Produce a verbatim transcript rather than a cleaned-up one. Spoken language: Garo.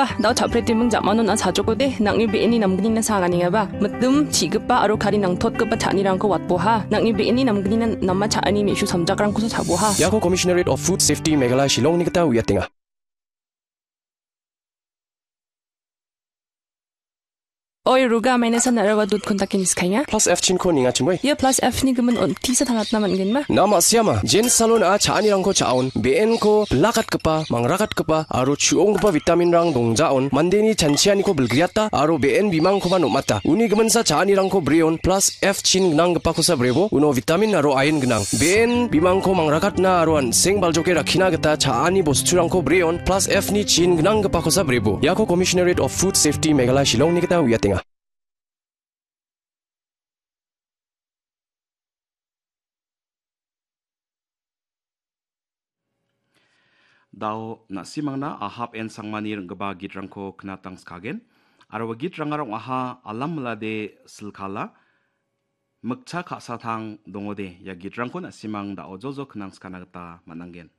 Ah, dao chapre timing jamano na sajokode, nangni be·eni namgnina sanganingaba. Mitim, chigipa aro kari nangtotgipa cha·anirangko watboha. Nangni be·eni namgnina nama cha·ani me·su samjakrangkosa chaboha. Iako Commissionerate of Food Safety Meghalaya Shillongni gita uiatenga. Oi, Ruga, maina san narawa dut kontakin iskainga. Plus F chinko ninga chimoi. Ia plus F ni gimin on tisa tangatna man·genba. Nama siama, jen salon a cha·anirangko cha·on, be·enko bilakatgipa, mangrakatgipa, aro chu·onggipa vitaminrang dongjaon, mandeni chanchianiko bilgriata, aro be·en bimangkoba nom·ata. Uni giminsa cha·anirangko breon, plus F chin gnanggipakosa brebo, uno vitamin aro ain gnang. Be·en bimangko mangrakatna aro an·seng baljoke rakkina gita cha·ani bosturangko breon, plus F ni chin gnanggipakosa brebo. Iako Commissionerate of Food Safety Meghalaya Shillongni gita uiatenga. Dao na·simangna Ahab N Sangmani ring·gipa gitrangko knatangskagen. Aro ua gitrangara ong·aha alam milade silkala, mikcha ka·satang dongode. Ia gitrangko na·simang dao jojo knangskana gita man·angen.